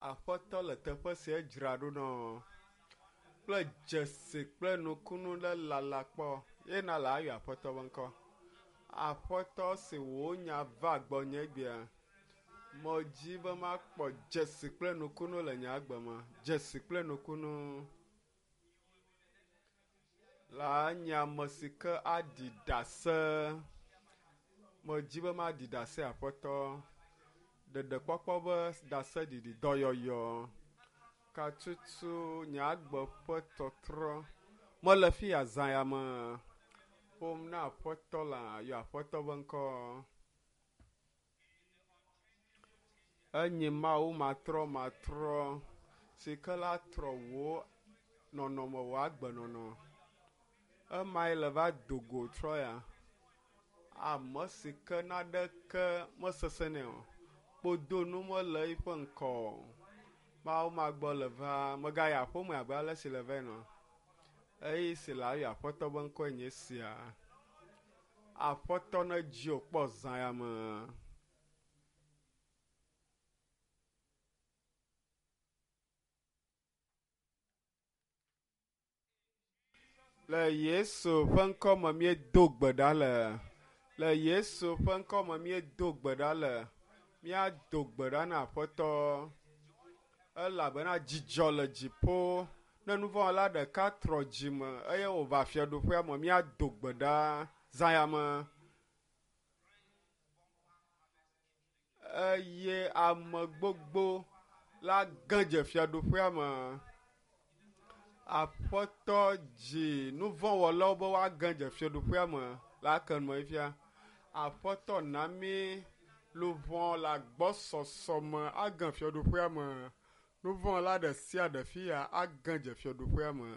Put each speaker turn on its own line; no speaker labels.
Aƒetɔ le teƒe sia dzra ɖo nɔ kple dzesi kple nukunu ɖe lala kpɔ ye na le ayɔ Aƒetɔ ƒe ŋkɔ. Aƒetɔ si wò nya va gbɔnye egbea, medzi be makpɔ dzesi kple nukunu le nye agbe me. Dzesi kple nukunu la nye ame si ke aɖi ɖase. Medzi be maɖi ɖase Aƒetɔ. Ɖeɖekpɔkpɔ be ɖaseɖiɖi, dɔyɔyɔ, katutu, nye agbe ƒe tɔtrɔ. Mele fi ya zã ya me ƒom na Aƒetɔ la, yɔ Aƒetɔ ƒe ŋkɔ. Enye Mawu matrɔmatrɔ si ke la trɔ wò nɔnɔme, wò agbenɔnɔ. Emae le va do go trɔ ya. Ame si ke naɖeke mesesẽ nɛ o. Kpodonu mele eƒe ŋkɔ o. Mawu magbɔ le va. Megayi aƒeme abe ale si le va ene o. Eyi si le ayɔ Aƒetɔ ƒe ŋkɔe nye esia. Aƒetɔ nedzi wò kpɔ zã ya me. Le Yesu ƒe ŋkɔ me míedo gbe ɖa le. Le Yesu ƒe ŋkɔ me míedo gbe ɖa le. Míado gbe ɖa na Aƒetɔ elabena dzidzɔ le dziƒo. Ne nuvɔ̃wɔla ɖeka trɔ dzime eye wòva fiaɖuƒea me, míado gbe ɖa zã ya me. Eye ame gbogbo la ge dze fiaɖuƒea me. Aƒetɔ dzi nuvɔ̃wɔlawo be woage dze fiaɖuƒea me la ke nɔ fifia. Aƒetɔ na mí luʋɔ le agbɔsɔsɔ me age fiaɖuƒea me. Nuvɔ̃wɔla ɖe sia ɖe fi ya age dze fiaɖuƒea me.